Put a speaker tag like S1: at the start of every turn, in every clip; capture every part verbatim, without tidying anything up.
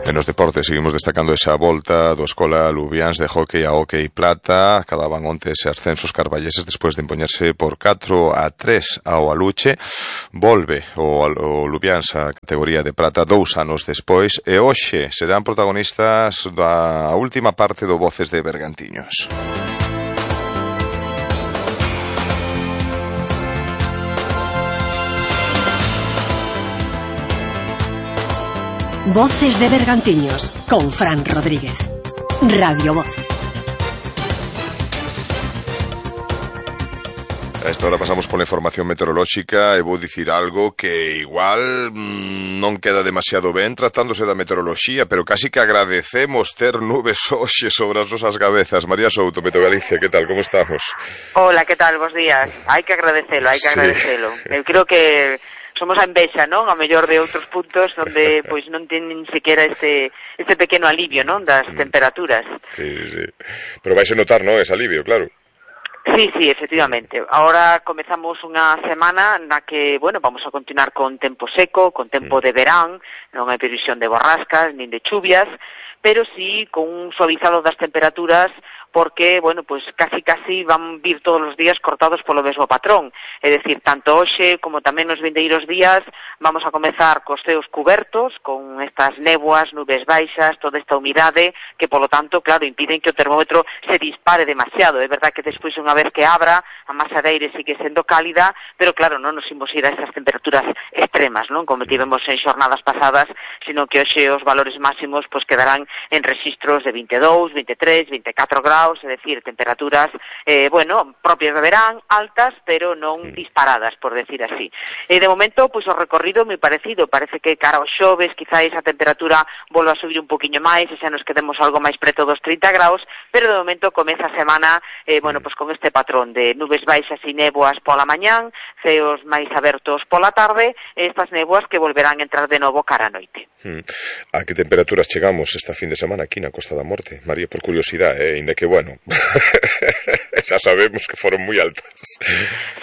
S1: En los deportes seguimos destacando esa volta do Escola Lubiáns de hockey a hockey plata. Acababan onte ese ascensos carballeses despois de impoñerse por catro a tres ao Aluche. Volve o, o Lubiáns a categoría de prata dous anos despois e hoxe serán protagonistas da última parte do Voces de Bergantiños.
S2: Voces de Bergantiños, con Fran Rodríguez. Radio Voz.
S1: A esta hora pasamos pola información meteorolóxica e vou dicir algo que igual mmm, non queda demasiado ben tratándose da meteoroloxía, pero casi que agradecemos ter nubes hoxe sobre as nosas cabezas. María Souto, Meteo Galicia, que tal, como estamos?
S3: Hola, que tal, bos días. Hai que agradecelo, hai que
S1: sí.
S3: agradecelo. Eu creo que somos a envexa, non? A mellor de outros puntos onde pois non ten nin sequera este este pequeno alivio, non? Das mm. temperaturas.
S1: Sí, sí. Pero vais a notar, non? Ese alivio, claro.
S3: Sí, sí, efectivamente. Ahora comezamos unha semana na que, bueno, vamos a continuar con tempo seco, con tempo mm. de verán, non hai previsión de borrascas nin de chuvias, pero sí con un suavizado das temperaturas porque, bueno, pues casi casi van vir todos os días cortados polo mesmo patrón. É dicir, tanto hoxe como tamén nos vindeiros días vamos a comezar cos ceos cubertos, con estas néboas, nubes baixas, toda esta humidade, que polo tanto, claro, impiden que o termómetro se dispare demasiado. É verdad que despois unha vez que abra, a masa de aire sigue sendo cálida, pero claro, non nos imos ir a esas temperaturas extremas, non? Como tivemos en xornadas pasadas, sino que hoxe os valores máximos pues quedarán en registros de vinte e dous, vinte e tres, vinte e catro graus, é dicir, temperaturas, eh, bueno, propias de verán, altas, pero non disparadas, por decir así. E de momento, pois, o recorrido moi parecido, parece que cara aos xoves, quizáis a temperatura volva a subir un poquinho máis, e xa nos quedemos algo máis preto dos trinta graus, pero de momento comeza a semana, eh, bueno, pois con este patrón de nubes baixas e néboas pola mañán, ceos máis abertos pola tarde, e estas néboas que volverán a entrar de novo cara a noite.
S1: Hmm. A que temperaturas chegamos esta fin de semana aquí na Costa da Morte? María, por curiosidade, eh, inda que, bueno, xa sabemos que foron moi altas.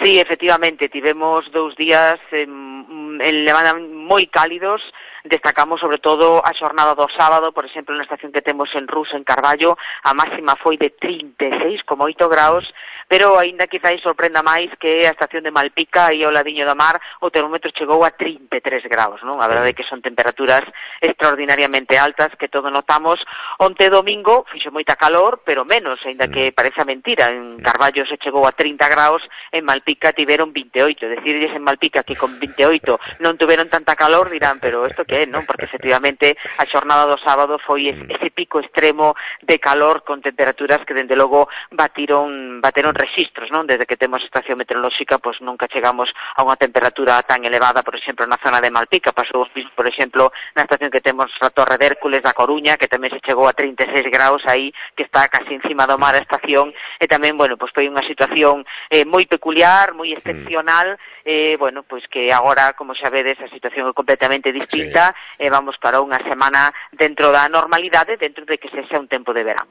S3: Sí, efectivamente, tivemos dous días eh, en Levada moi cálidos. Destacamos sobre todo a xornada do sábado, por exemplo, na estación que temos en Rus, en Carballo, a máxima foi de trinta e seis coma oito graus, pero aínda quizáis sorprenda máis que a estación de Malpica e ao ladiño da mar o termómetro chegou a trinta e tres graus, non? A verdade é que son temperaturas extraordinariamente altas que todo notamos. Onte domingo fixo moita calor, pero menos, aínda que parece mentira. En Carballo se chegou a trinta graus, en Malpica tiveron vinte e oito. Decirles en Malpica que con vinte e oito non tuveron tanta calor, dirán, pero isto que é, non? Porque efectivamente a xornada do sábado foi ese pico extremo de calor con temperaturas que dende logo batiron bateron registros, non? Desde que temos estación meteorolóxica, pois nunca chegamos a unha temperatura tan elevada, por exemplo, na zona de Malpica. Pasou, por exemplo, na estación que temos a Torre de Hércules da Coruña, que tamén se chegou a trinta e seis graus aí, que está casi encima do mar a estación, e tamén, bueno, pois foi unha situación eh, moi peculiar, moi excepcional, eh, bueno, pois que agora, como xa vedes, a situación é completamente distinta, sí. E vamos para unha semana dentro da normalidade, dentro de que se xa un tempo de verán.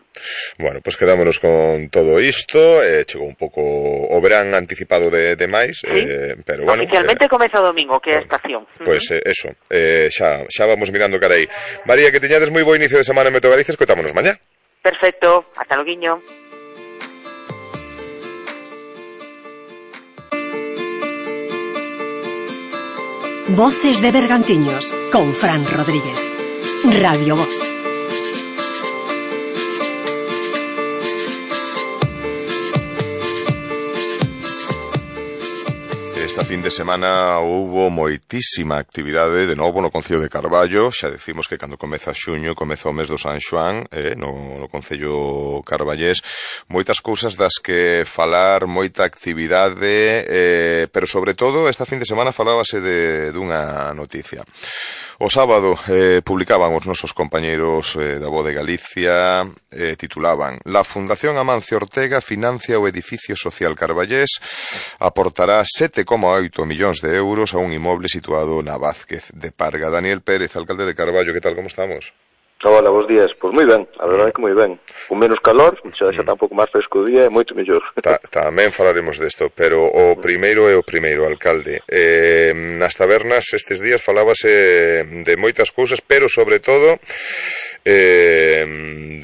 S1: Bueno, pois quedámonos con todo isto, eh, chegou un pouco o verán anticipado de, de máis,
S3: ¿sí?
S1: eh, pero bueno...
S3: Oficialmente
S1: eh,
S3: comeza o domingo, que é a estación.
S1: Pois pues, eh, eso, eh, xa, xa vamos mirando cara aí. María, que teñades moi bo inicio de semana en Meteo Galicia, escoitámonos mañá.
S3: Perfecto, ata loguiño.
S2: Voces de Bergantiños, con Fran Rodríguez. Radio Voz.
S1: Esta fin de semana houbo moitísima actividade de novo no Concello de Carballo. Xa decimos que cando comeza xuño comeza o mes do San Xoán, eh, no, no Concello carballés. Moitas cousas das que falar, moita actividade, eh, pero sobre todo esta fin de semana falábase de dunha noticia. O sábado eh, publicaban os nosos compañeiros eh, da Voz de Galicia, eh, titulaban: La Fundación Amancio Ortega financia o edificio social carballés, aportará sete coma oito millóns de euros a un inmoble situado na Vázquez de Parga. Daniel Pérez, alcalde de Carballo, que tal, como estamos?
S4: Hola, bons días. Pois moi ben, a verdade é que moi ben. Con menos calor, xa xa está un pouco máis fresco o día, é moito mellor.
S1: Ta, tamén falaremos desto, pero o primeiro é o primeiro, alcalde. Eh, nas tabernas estes días falábase de moitas cousas, pero sobre todo eh,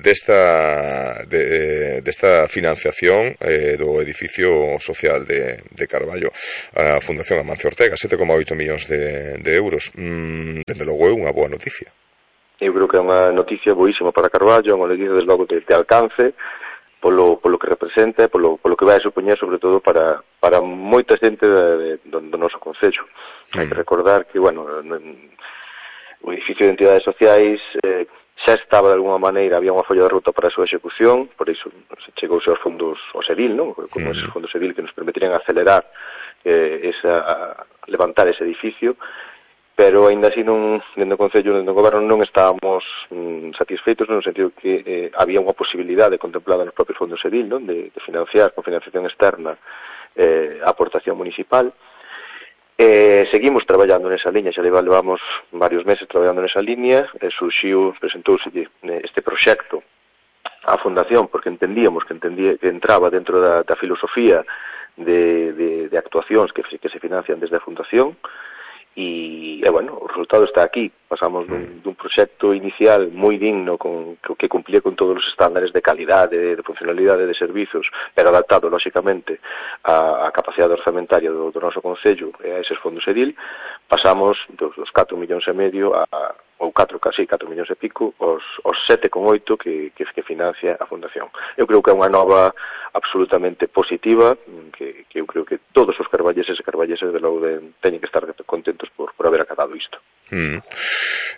S1: desta de, desta financiación eh, do edificio social de, de Carballo, a Fundación Amancio Ortega, sete coma oito millóns de, de euros. Mm, dende logo é unha boa noticia.
S4: Eu creo que é unha noticia boísima para Carballo, é unha noticia desde logo de, de alcance, polo, polo que representa, polo, polo que vai a supoñer, sobre todo, para, para moita xente de, de, do, do noso concello. Mm. Hai que recordar que, bueno, no, o edificio de entidades sociais eh, xa estaba de alguma maneira, había unha folla de ruta para a súa execución, por iso se chegouse aos fondos, ao Sedil, non? Como mm. esos fondos Sedil que nos permitirían acelerar eh, esa, levantar ese edificio, pero aínda así non, dentro do Concello, dentro do Goberno, non estábamos mm, satisfeitos no sentido que eh, había unha posibilidade contemplada nos propios fondos Sedil, non? De, de financiar con financiación externa eh, a aportación municipal. Eh, seguimos traballando nesa liña, xa levamos varios meses traballando nesa liña, e surxiu, presentouse este proxecto á Fundación, porque entendíamos que, entendía, que entraba dentro da, da filosofía de, de, de actuacións que, que se financian desde a Fundación. E, e bueno, o resultado está aquí. Pasamos dun, dun proxecto inicial moi digno, con, que cumplía con todos os estándares de calidade, de, de funcionalidade de servizos, pero adaptado, lóxicamente, á, á capacidade orzamentaria do, do noso Concello e a eses fondos Edil. Pasamos dos, dos catro millóns e medio a, ou catro, casi catro millóns e pico, os, os sete coma oito que, que, que financia a Fundación. Eu creo que é unha nova absolutamente positiva, que, que eu creo que todos os carballeses e carballeses de logo de, teñen que estar contentos por, por haber acatado isto.
S1: Mm.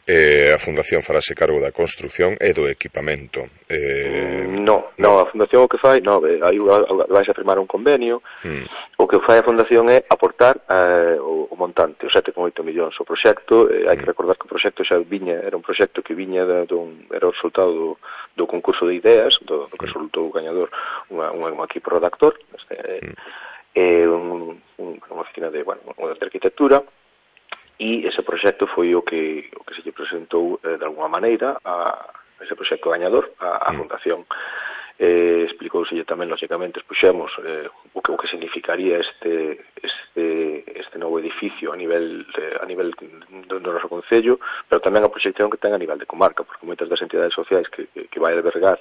S1: Eh, a Fundación farase cargo da construción e do equipamento. Eh...
S4: No, no, a Fundación o que fai, no, aí vais a firmar un convenio, mm. o que fai a Fundación é aportar eh, o, o montante, os sete coma oito millóns. O proxecto, eh, hai que recordar que o proxecto xa viña, era un proxecto que viña de, de un, era o resultado do, do concurso de ideas, do, do que resultou o gañador unha, unha, un equipo redactor, este, mm. eh, un, un, unha oficina de, bueno, unha de arquitectura, e ese proxecto foi o que o que se lle presentou eh, de alguma maneira a ese proxecto gañador a, a Fundación. Eh, explicóuselle tamén, lógicamente, expuxemos eh, o, que, o que significaría este este este novo edificio a nivel de, a nivel do, do noso concello, pero tamén a proxección que ten a nivel de comarca, porque moitas das entidades sociais que, que, que vai albergar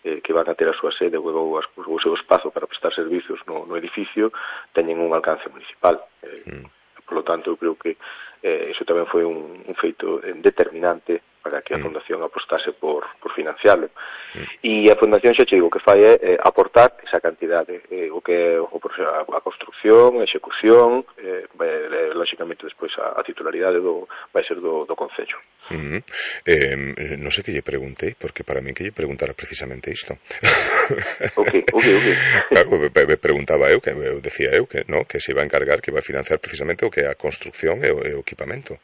S4: eh, que van a ter a súa sede ou o seu espazo para prestar servicios no, no edificio teñen un alcance municipal. Eh, mm. Por lo tanto, eu creo que eh, iso tamén foi un, un feito determinante para que a Fundación apostase por, por financiarlo. Mm. E a Fundación, xa che digo, o que fai é eh, aportar esa cantidade, eh, o que o, a, a construcción, a execución, eh, eh, lógicamente despois a, a titularidade do, vai ser do, do Concello.
S1: Mm. Eh, non sei que lle preguntei, porque para mí que lle preguntara precisamente isto.
S4: Ok, ok, ok.
S1: Claro, me, me preguntaba eu, que eu decía eu que no, que se iba a encargar, que iba a financiar precisamente o que é a construcción e o, e o equipamento.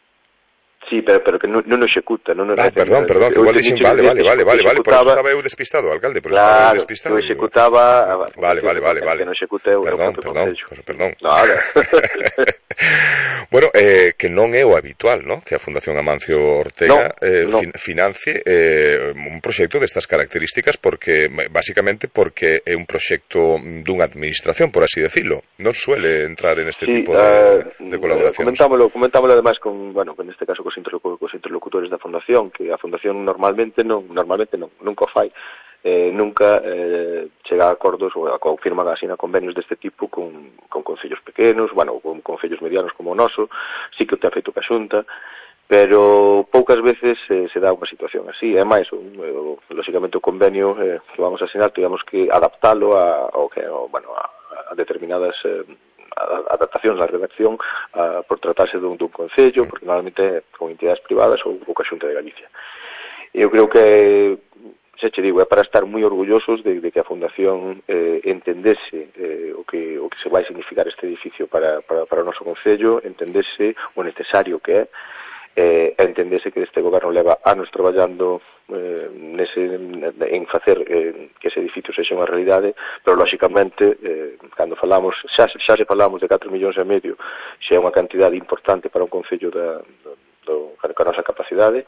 S4: Sí, pero, pero que non, non executa, non, non
S1: ah, perdón, perdón, que igual dixen, vale, vale, vale, vale, vale, por eso estaba eu despistado, alcalde, por eso estaba eu despistado.
S4: Claro, que executaba...
S1: Vale, vale, vale, vale.
S4: Que non execute o
S1: perdón,
S4: propio
S1: perdón,
S4: Concello.
S1: Perdón,
S4: Nada.
S1: Bueno, eh, que non é o habitual, ¿no? Que a Fundación Amancio Ortega no, eh, no. Fin, financie eh, un proxecto destas características, porque básicamente porque é un proxecto dunha administración, por así decirlo. Non suele entrar en este sí, tipo de, uh, de colaboracións.
S4: Comentámoslo, comentámoslo además con, bueno, en este caso cos interlocutores da Fundación, que a Fundación normalmente non, normalmente non, nunca o fai. Eh, nunca eh, chega a acordos ou a confirman así na convenios deste tipo con, con concellos pequenos, bueno, con concellos medianos como o noso, sí que o ten feito ca Xunta, pero poucas veces eh, se dá unha situación así. É máis, o, lógicamente o convenio eh, que vamos a asinar, tivemos que adaptalo a, a, a, bueno, a, a determinadas eh, adaptacións da redacción a, por tratarse dun, dun concello, porque normalmente con entidades privadas ou ca Xunta de Galicia. Eu creo que xa che digo, é para estar moi orgullosos de, de que a Fundación eh, entendese eh, o, que, o que se vai significar este edificio para, para, para o noso concello, entendese o necesario que é, eh, entendese que este goberno leva anos traballando eh, nese, en facer eh, que ese edificio sexa unha realidade, pero lógicamente eh, cando falamos, xa, xa se falamos de catro millóns e medio, xa é unha cantidade importante para un concello da, do, do, ca nosa capacidade.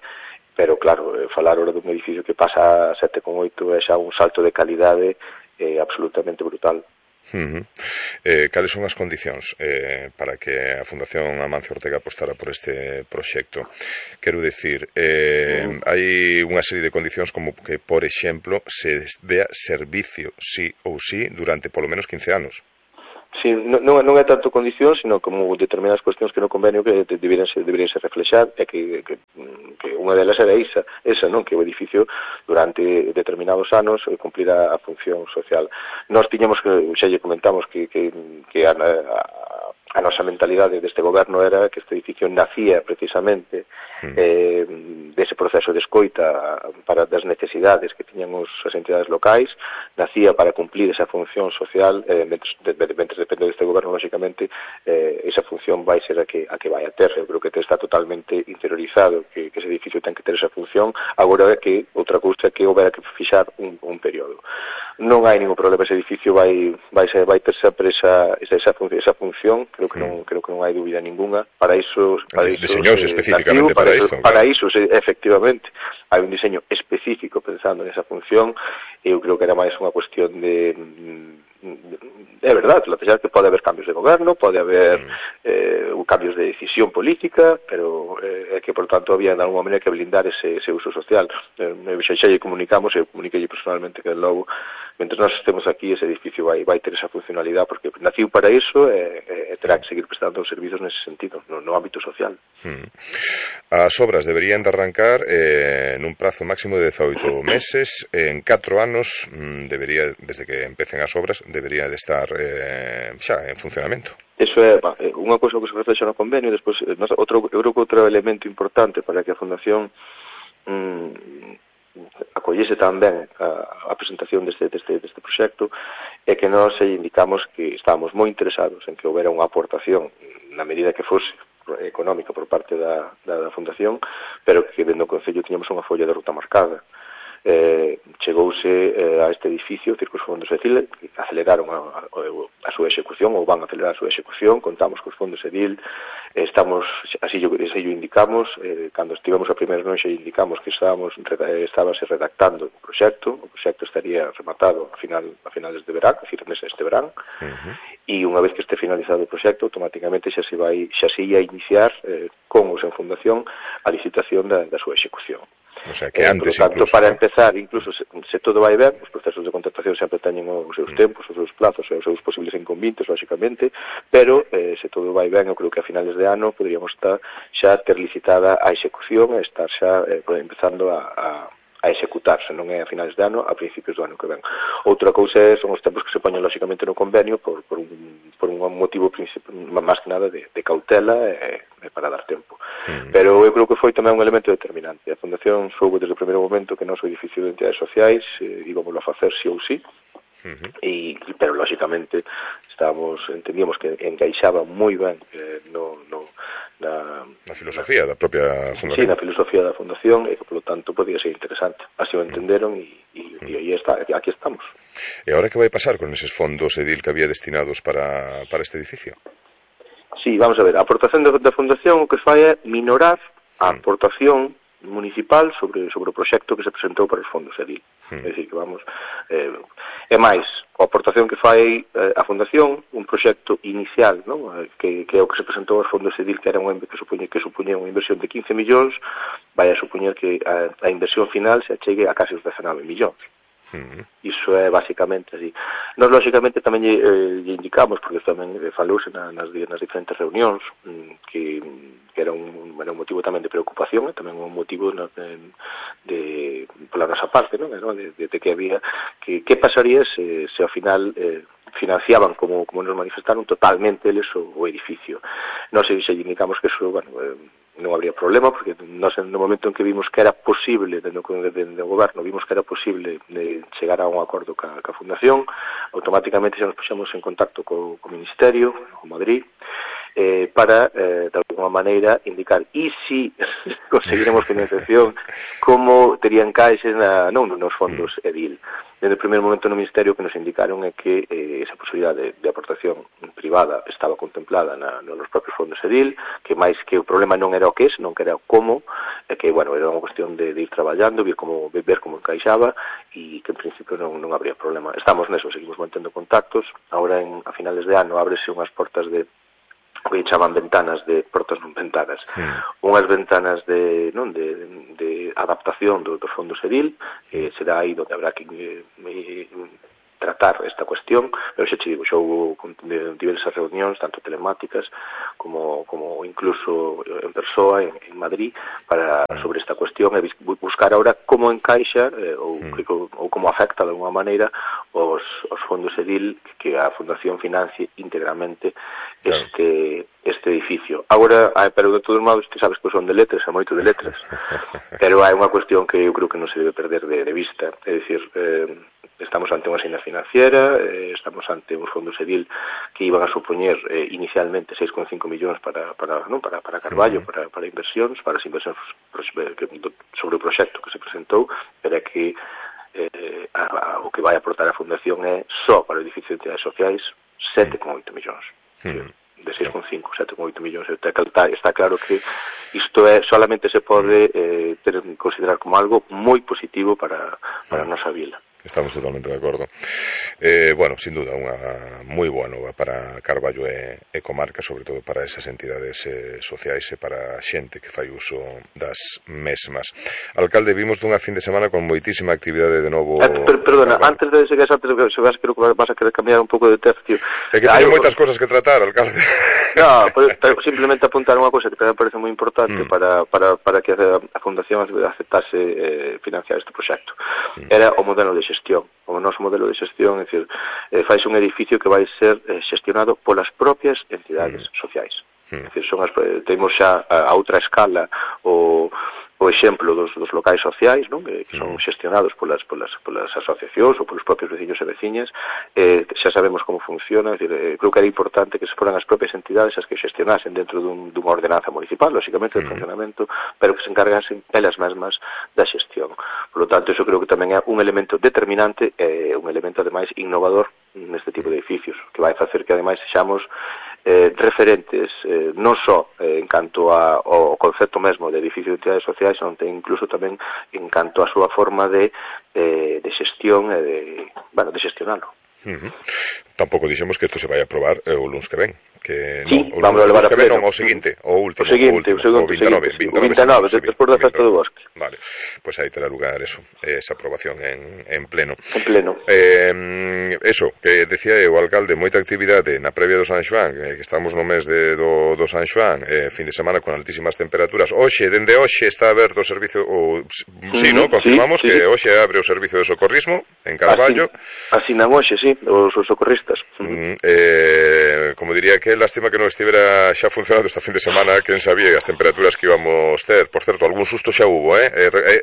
S4: pero claro, eh, falar ahora dun edificio que pasa a sete coma oito é xa un salto de calidade eh, absolutamente brutal.
S1: Uh-huh. Eh, cales son as condicións eh, para que a Fundación Amancio Ortega apostara por este proxecto? Quero dicir, eh, uh-huh. hai unha serie de condicións como que, por exemplo, se dea servicio sí ou sí durante polo menos quince anos.
S4: Sí, non, non é tanto condición, sino como determinadas cuestións que no convenio que deberían ser, deberían ser reflexar, e que, que, que unha delas era esa, esa, non? Que o edificio durante determinados anos cumplirá a función social. Nós tiñamos que, xa lle comentamos que, que, que a, a, a nosa mentalidade deste goberno era que este edificio nacía precisamente mm. eh, dese proceso de escoita para das necesidades que tiñan os, as entidades locais, nacía para cumplir esa función social, eh, mentre, de, de, mentre depende deste goberno, lógicamente, eh, esa función vai ser a que, a que vai a ter. Eu creo que está totalmente interiorizado que, que ese edificio ten que ter esa función. Agora é que outra cousa é que houbera que fixar un, un período. Non hai ningún problema, ese edificio vai vai ser, vai ter sempre esa esa esa, fun, esa función, creo que non creo que non hai dúbida ninguna. Para iso, para iso
S1: diseñouse eh, específicamente para, para isto.
S4: Para iso, efectivamente, hai un diseño específico pensando nesa función. Eu creo que era máis unha cuestión de é verdade, plantear que pode haber cambios de goberno, pode haber mm. eh, cambios de decisión política, pero é eh, que, por tanto, había de alguma maneira que blindar ese, ese uso social. Eh, xa, xa lle comunicamos, eu comuniquei personalmente que logo, mentre nós estemos aquí, ese edificio vai, vai ter esa funcionalidade, porque naciu para iso e, e terá que seguir prestando os servizos nese sentido, no, no ámbito social.
S1: Mm. As obras deberían de arrancar eh, nun prazo máximo de dezaoito meses, en catro anos mm, debería, desde que empecen as obras, debería de estar eh, xa en funcionamento.
S4: Eso é unha cousa que se reflexa no convenio. Despois, outro, eu creo que outro elemento importante para que a Fundación mm, acollese tamén a, a presentación deste, deste, deste proxecto é que nós indicamos que estábamos moi interesados en que houbera unha aportación na medida que fose económica por parte da, da, da Fundación, pero que dentro do Concello tiñamos unha folla de ruta marcada. Eh, chegouse eh, a este edificio, que os fondos EDIL aceleraron a, a, a súa execución, ou van a acelerar a súa execución. Contamos cos fondos EDIL, eh, estamos, así yo, así yo indicamos, eh, cando estivemos a primeira noite indicamos que estábamos estábase redactando o proxecto, o proxecto estaría rematado a final a finales de verán, a decir, este verán, uh-huh. E unha vez que este finalizado o proxecto, automáticamente xa se vai, xa se ia iniciar eh, con os en fundación a licitación da, da súa execución.
S1: O sea, que antes,
S4: eh, por lo tanto,
S1: incluso,
S4: para
S1: ¿no?
S4: empezar, incluso se, se todo vai ben, os procesos de contratación sempre teñen os seus mm. tempos, os seus plazos e os seus posibles inconvintes, lógicamente, pero eh, se todo vai ben, eu creo que a finales de ano poderíamos estar xa ter licitada a execución e estar xa eh, empezando a, a a executarse, non é a finales de ano, a principios do ano que ven. Outra cousa é, son os tempos que se poñen lógicamente no convenio por, por, un, por un motivo máis que nada de, de cautela e, e para dar tempo. Mm. Pero eu creo que foi tamén un elemento determinante. A Fundación soubo desde o primeiro momento que o noso edificio de entidades sociais eh, íbamos a facer sí ou sí, uh-huh. e, pero lógicamente estábamos, entendíamos que encaixaba moi ben eh, no, no Na,
S1: na filosofía da propia Fundación.
S4: Sí, na filosofía da Fundación, e que, polo tanto, podía ser interesante. Así o entenderon e, e, mm. e aí está, aquí estamos.
S1: E agora que vai pasar con eses fondos EDIL que había destinados para, para este edificio?
S4: Sí, vamos a ver, a aportación da, da Fundación o que fai é minorar a aportación municipal sobre sobre o proxecto que se presentou para os fondos EDIL. Mm. É dicir, que vamos... Eh, é máis, a aportación que fai eh, a Fundación, un proxecto inicial, non? Que, que é o que se presentou aos fondos EDIL, que era unha, que supoñe que supoñía unha inversión de quince millóns, vai a supoñer que a, a inversión final se achegue a case os dezenove millóns. Mm. Iso é basicamente así. Nós, lógicamente, tamén lle, eh, lle indicamos, porque tamén falouse na, nas, nas diferentes reunións, que, que era, un, era un motivo tamén de preocupación, e tamén un motivo no, de, de, pola nosa parte, non? De, de, de que había, que, que pasaría se, se ao final eh, financiaban, como, como nos manifestaron, totalmente eles o, o edificio. Nós se, se indicamos que eso, bueno, eh, non habría problema, porque nós no momento en que vimos que era posible, dentro do goberno, vimos que era posible de chegar a un acordo ca, ca Fundación, automáticamente xa nos puxemos en contacto co, co Ministerio, co Madrid, eh, para, eh, de alguma maneira, indicar e si conseguiremos financiación, como terían caixes na, non nos fondos Edil. Desde o primeiro momento no Ministerio que nos indicaron é que eh, esa posibilidade de, de aportación privada estaba contemplada na, nos propios fondos Edil, que máis que o problema non era o que é, senón que era o como, e que, bueno, era unha cuestión de, de ir traballando, ver como, ver como encaixaba, e que en principio non, non habría problema. Estamos neso, seguimos mantendo contactos, agora en, a finales de ano ábrese unhas portas de o que chaman ventanas de portas non ventanas, sí. Unhas ventanas de non de, de adaptación do, dos fondos Edil, eh, será aí onde habrá que eh, eh, tratar esta cuestión, pero xa che digo, xa houve diversas reunións, tanto telemáticas como, como incluso en persoa en, en Madrid, para sobre esta cuestión e buscar ahora como encaixa eh, ou, sí. que, ou como afecta de alguma maneira os, os fondos Edil que a Fundación financie íntegramente claro. este este edificio. Agora, pero de todos modos, te sabes que son de letras, é moito de letras, pero hai unha cuestión que eu creo que non se debe perder de, de vista, é dicir, eh, estamos ante unha asignación financiera, eh, estamos ante uns fondos Edil que iban a supoñer eh, inicialmente seis coma cinco millóns para para non para para Carballo, uh -huh. para para inversións, para as inversións sobre o proxecto que se presentou, pero é que eh, a, a, o que vai aportar a Fundación é só para o edificio de entidades sociais sete coma oito millóns. Uh -huh. De seis coma cinco, sete coma oito millóns. Está, está claro que isto é, solamente se pode eh, ter, considerar como algo moi positivo para, para a nosa vila.
S1: Estamos totalmente de acordo. Eh, bueno, sin duda, unha moi boa nova para Carballo e, e comarca, sobre todo para esas entidades eh, sociais e para a xente que fai uso das mesmas. Alcalde, vimos dunha fin de semana con moitísima actividade de novo...
S4: Eh, per, perdona, antes de seguir, antes de se vas, creo que vas a querer cambiar un pouco de tercio.
S1: É que teño moitas cosas que tratar, alcalde.
S4: No, pero, pero simplemente apuntar unha cosa que me parece moi importante mm. para, para, para que a, a Fundación aceptase eh, financiar este proxecto. Mm. Era o modelo de xestión. O noso modelo de xestión, é dicir, eh, faise un edificio que vai ser eh, xestionado polas propias entidades mm. sociais. Mm. É dicir, son as, temos xa a, a outra escala o o exemplo dos, dos locais sociais, non? Que, que son xestionados polas, polas, polas asociacións ou polos propios veciños e veciñas, eh, xa sabemos como funciona, é dicir, eh, creo que era importante que se foran as propias entidades as que xestionasen dentro dun, dunha ordenanza municipal, lógicamente, do funcionamento, pero que se encargasen elas mesmas da xestión. Por lo tanto, eso creo que tamén é un elemento determinante e eh, un elemento, ademais, innovador neste tipo de edificios, que vai facer que, ademais, sexamos Eh, referentes eh, non só eh, en canto a, ao concepto mesmo de edificio de entidades sociais, onde incluso tamén en canto a súa forma de, eh, de xestión e de, bueno, de xestionalo.
S1: Uh-huh. Tampouco dixemos que isto se vai a aprobar eh, o luns que ven, que
S4: sí,
S1: no, o
S4: vamos a levar a pleno.
S1: Non, o seguinte, o último,
S4: o seguinte,
S1: o, último,
S4: o, segundo,
S1: o vintanove,
S4: seguinte,
S1: vintanove,
S4: vintanove, despois da festa do bosque.
S1: Vale, pues aí terá lugar eso, esa aprobación en, en pleno.
S4: En pleno.
S1: Eh, eso, que decía o alcalde, moita actividade na previa do San Xoán, eh, que estamos no mes de, do, do San Xoán, eh, fin de semana con altísimas temperaturas. Hoxe, dende hoxe está aberto o servicio, o, sí, mm, no, confirmamos sí, sí, que hoxe abre o servicio de socorrismo en Carballo.
S4: Así, así na hoxe, sí, os, os socorristas.
S1: Mm, eh, como diría que lástima que non estivera xa funcionando esta fin de semana, quen sabía as temperaturas que íbamos ter. Por certo, algún susto xa hubo, eh?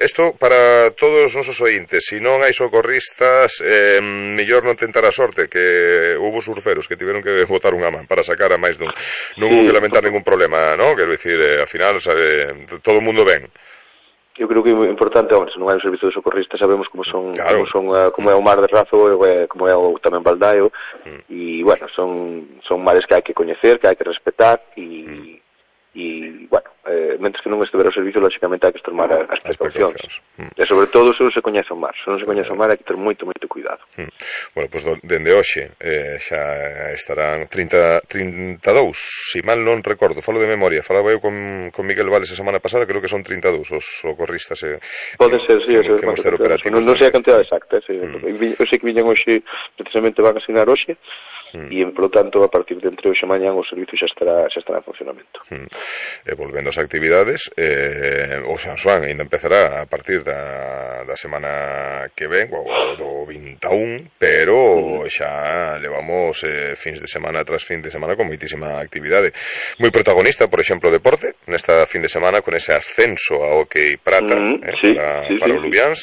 S1: Isto eh, para todos os nosos ointes, se non hai socorristas, eh, mellor non tentar a sorte, que hubo surferos que tiveron que botar unha man para sacar a máis dun. Non sí, hubo que lamentar ningún problema, ¿no? Quero dicir, eh, ao final, sabe, todo o mundo ben.
S4: Eu creo que é importante, hombre, se non hai un servicio de socorrista, sabemos como son,
S1: claro.
S4: como son uh, como é o mar de Razo, e como é o tamén Baldaio, mm. e, bueno, son son mares que hai que coñecer, que hai que respetar, e, mm. e bueno, eh, mentres que non estivera o servicio, lógicamente hai que tomar as, as precaucións. Mm. E sobre todo, se non se coñece o mar, se non se coñece o mar, hai que ter moito, moito cuidado.
S1: Mm. Bueno, pois, pues, dende hoxe eh, xa estarán trinta, trinta e dous, se mal non recordo, falo de memoria, falaba eu con, con Miguel Vales a semana pasada, creo que son trinta e dous os socorristas. Eh,
S4: Pode ser, sí,
S1: que, que, que que
S4: non, non sei a cantidad exacta, sí. Mm. Eu sei que viñan hoxe, precisamente van a asignar hoxe, Mm. e, por lo tanto, a partir de entre hoxe e mañán o servicio xa estará, xa estará en funcionamento.
S1: Mm. E volvendo ás actividades, eh, o San Xoán ainda empezará a partir da, da semana que ven, o do vinte e un, pero mm. xa levamos eh, fins de semana tras fin de semana con moitísima actividade. Moi protagonista, por exemplo, deporte, nesta fin de semana con ese ascenso a hockey prata mm. eh,
S4: sí,
S1: para,
S4: sí,
S1: para
S4: sí,
S1: o Lubiáns.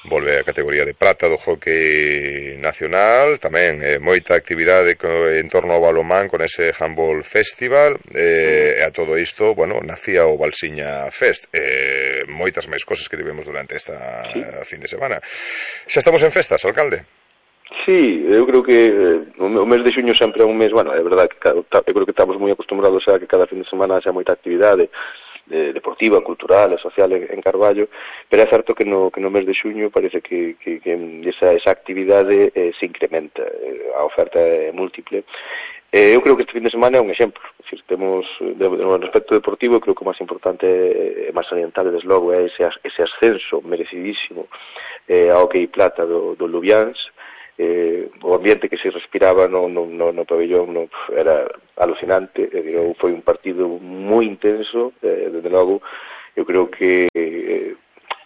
S1: Volve a categoría de prata do hockey nacional, tamén eh, moita actividade actividade en torno ao balonmán con ese Handball Festival, eh, e a todo isto, bueno, nacía o Balsiña Fest, eh, moitas máis cosas que tivemos durante esta sí. fin de semana. Xa estamos en festas, alcalde?
S4: Sí, eu creo que eh, o mes de xuño sempre é un mes, bueno, é verdade que eu creo que estamos moi acostumbrados a que cada fin de semana xa moita actividade de, deportiva, cultural e social en, en Carballo, pero é certo que no, que no mes de xuño parece que, que, que esa, esa actividade eh, se incrementa, eh, a oferta é múltiple. Eh, eu creo que este fin de semana é un exemplo, é dicir, temos, de, no respecto deportivo, creo que o máis importante é, é máis oriental, desde logo, é ese, ese ascenso merecidísimo eh, ao hockey plata do, do Lubiáns. Eh, o ambiente que se respiraba no, no, no, no pabellón no, era alucinante, eh, foi un partido moi intenso, eh, desde logo eu creo que eh,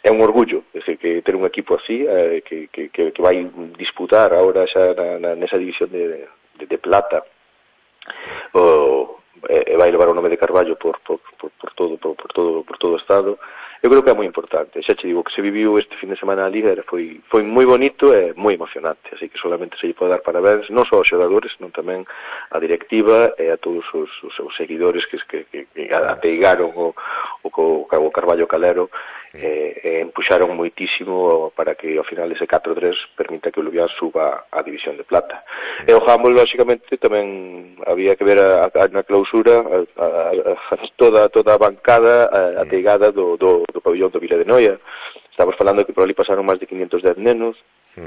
S4: é un orgullo, é decir, que ter un equipo así eh, que, que, que, que vai disputar agora xa na, na, nesa división de, de, de plata o, e vai levar o nome de Carballo por, por, por, por, todo, por, por, todo, por todo o estado. Eu creo que é moi importante, xa che digo que se viviu este fin de semana a Liga foi, foi moi bonito e moi emocionante, así que solamente se lle pode dar parabéns non só aos xogadores, non tamén a directiva e a todos os, os, os seguidores que, que, que, que apeigaron o, o, o Carballo Calero e, e empuxaron moitísimo para que ao final ese catro tres permita que o Lubián suba a división de plata. E o handball, lógicamente, tamén había que ver a, a, na clausura a, a, a, toda, toda a bancada a, ateigada do, do do pabellón do Vila de Noia. Estamos falando que por ali pasaron máis de quinientos dez nenos, sí.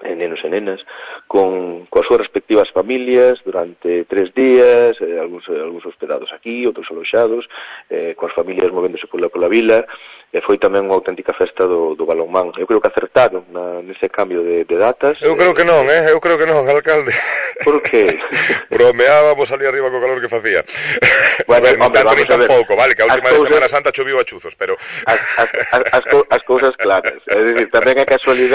S4: eh, nenos e nenas, con coas súas respectivas familias durante tres días, eh, algúns, algúns hospedados aquí, outros aloxados, eh, coas familias movéndose pola, pola vila, e foi tamén unha auténtica festa do, do balonmán. Eu creo que acertaron na, nese cambio de, de datas.
S1: Eu creo que non, eh? Eu creo que non, alcalde.
S4: Por que?
S1: Bromeábamos ali arriba co calor que facía.
S4: Bueno,
S1: a ver,
S4: hombre,
S1: tanto ni tampouco, vale, que a última de Semana Santa choviu a chuzos, pero...
S4: As, as, as, as, co, as cousas claras. É dicir, tamén é casualidade